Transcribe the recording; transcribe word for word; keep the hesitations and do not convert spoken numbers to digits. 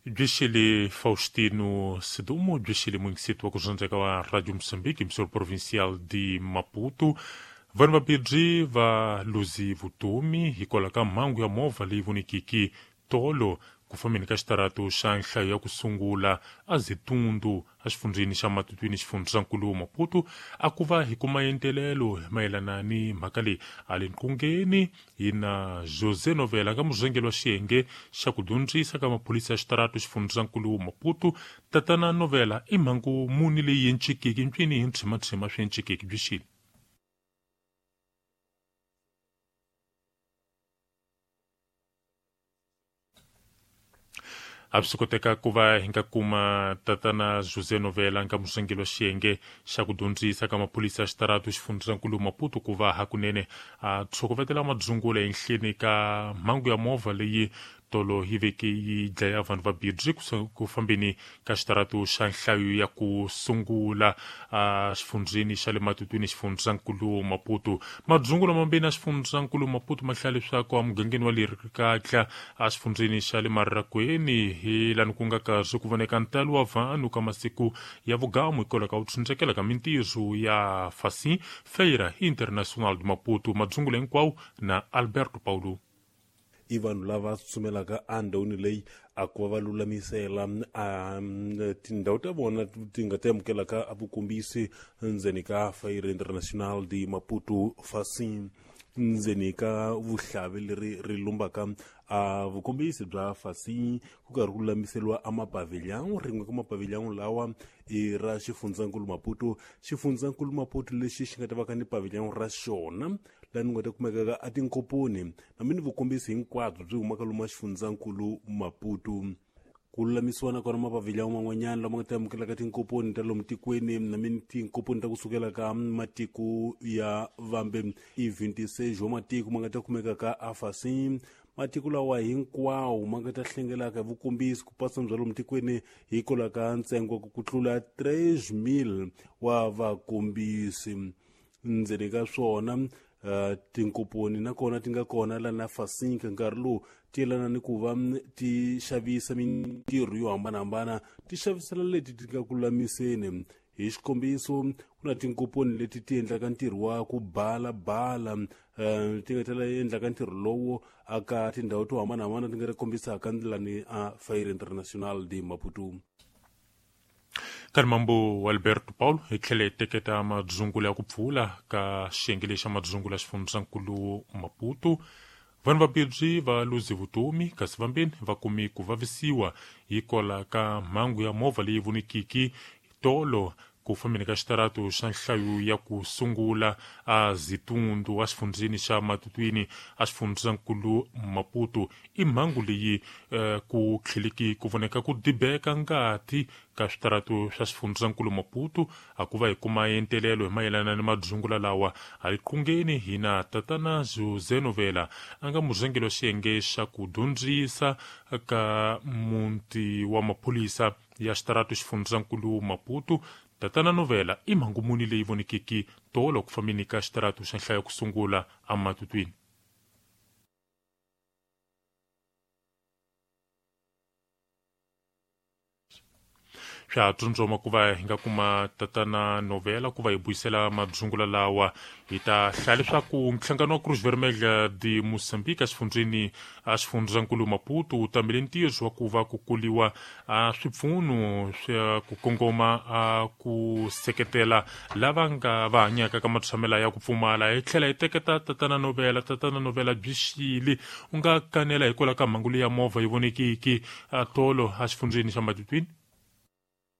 Bixili Faustino Sedumo, bixili muingisito wa kuzonzeka wa Radio Moçambique, emissora provincial de Maputo. Vanhu vabirhi va luzi vutomi hikwalaho ka mhangu ya movha leyi vonikiki tolo ku fambeni ka xitaratu xa nhlayo ya ku sungula azitundu exifundzheni xa Matutuini xifundzankulu Maputo. A ku va hi kuma entelelo mayelana ni mhaka leyi a le nqungeni hi na José Novela ka murhangeri wa xiyenge xa ku dyondzisa ka maphorisa ya xitaratu xifundzankulu Maputo. Tatana Novela, i mhangu muni leyi encikiki ncwini hi ntshima-tshima swi encikiki byi xini? A swi koteka ku va hi nga kuma tatana José Novela nga murhangeri wa xiyenge xa ku dyondzisa ka maphorisa ya xitaratu xifundzankulu Maputo ku va hakunene a tshokovetela madzungula ehenhleni ka mhangu ya movha leyi tolo yi veke yi dlaya vanhu vambirhi ku fambeni ka xitaratu xa nhlayo ya ku sungula exifundzheni xa le Matutuini xifundzankulu Maputo. Madzungula mambirhi ya xifundzankulu Maputo ma hlaya leswaku emugangeni wa Lerikatla exifundzheni xa le Mararakwini hi lani ku nga karhi ku voneka ntalo wa vanhu ka masiku ya vugamu hikwalaho ka ku tshundzekela ka mintirho ya Facim Feira Internacional de Maputo. Madzungula hinkwawo na Alberto Paulo. I vanhu lava tsumelaka endhawini leyi a ku va va lulamisela a tindhawu ta vona ti nga ta amukelaka a vukombisi ndzeni ka Feira Internacional de Maputo Facim ndzeni ka vuhlavi leri ri lumbaka a vukombisi bya Facim ku karhi ku lulamiseriwa a mapavilhão. Rin'we ka mapavilhão lawa i ra xifundzankulu Maputo. Xifundzankulu Maputo lexi xi nga ta va ka ni pavilhão ra xona laha ni nga ta kumekaka a tinkoponi na mini vukombisi hinkwabyo byi humaka lomu xifundzankulu Maputo. Ku lulamisiwa nakona mapavilhão man'wanyana lama nga ta amukelaka tinkoponi ta lomu tikweni na mini tinkoponi ta kusukela ka matiko ya vambe i twenty-six wa matiko ma nga ta kumekaka a Facim. Matiko lawa hinkwawo ma nga ta hlengelaka hi vukombisi ku pasa bya lomu tikweni hikwalaho ka ntsengo ku tlula three mil wa vakombisi. Ndzeni ka swona Uh, tinkoponi nakona ti nga kona la na Facim ka nkarhi lowu ti yelana ni ku va ti xavisa mintirho yo hambanahambana ti xavisela leti ti nga ku lulamiseni. Hi xikombiso ku na tinkoponi leti ti endlaka ntirho wa ku balabala uh, ti nga tela endlaka ntirho lowo aka tindhawu to hambanahambana ti nga ri kombisaka ndlelani a Feira Internacional de Maputo. Karimambo Alberto Paulo hi tlhele hi teketa madzungula ya ku pfula ka xiyenge lexi xa madzungula xifundzankulu Maputo. Vanhu vambirhi va luzi vutomi kasi vambirhi va kumi ku vavisiwa hikwalaho ka mhangu ya movha leyi vonikiki tolo ku fambeni ka xitaratu xa nhlayo ya ku sungula a Zitundu exifundzheni xa Matutuini exifundzankulu Maputo. I mhangu leyi eh, ku tlheleki ku voneka ku dibeka ngati ka switaratu swa xifundzankulu Maputo. A ku va hi kuma entelelo hi mayelana ni madzungula lawa a hi qungeni hi na tatana José Novela a nga murhangeri wa xiyenge xa ku dyondzisa ka muti wa maphorisa ya xitaratu xifundzankulu Maputo. Tatana Novela, i mhangu muni leyi vonikiki tolo ku fambeni ka xitaratu xa nhlayo ku sungula eMatutuini? Swa tsondzoma ku va hi nga kuma tatana Novela ku va hi buyisela madzungula lawa. Hi ta hlaya leswaku nhlangano wa Cruz Vermelha de Moçambique exifundzheni exifundzankulu Maputo wu tamele ntirho wa ku va ku kuliwa a swipfuno swa ku kongoma a ku seketela lava nga va hanyaka ka matshamela ya ku pfumala. Hi tlhela hi teketa tatana Novela. Tatana Novela, byi xili u nga kanela hikwalaho ka mhangu leyi ya movha yi vonekiki tolo exifundzheni xa Matutuini?